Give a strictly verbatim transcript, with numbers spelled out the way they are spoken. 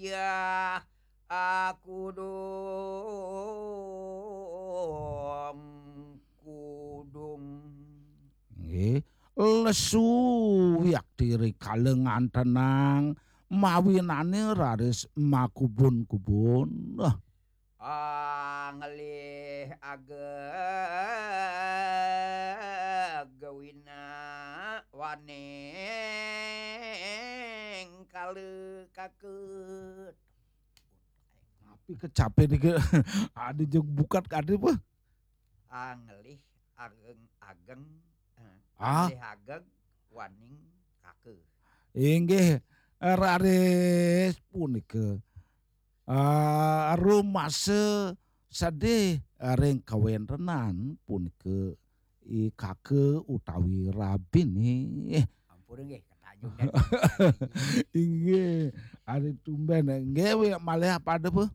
Ya, aku dong kudung. Nggih, lesu wiakti rikala ngantenang mawinane raris makubun-kubun. Ah. Anglih ageg wina waning kala kakut. Tapi kecape niki adi jeg bukat kadi apa? Anglih ageng-ageng. Eh, ah. Anglih ageg waning kaka. Inggih, raris punika. Ah, rumasa sedih ring kawentenan punika i kaka utawi rabine. Ampun nggih, ketajuk. Inggih, ari tumben nggih malih pada apa?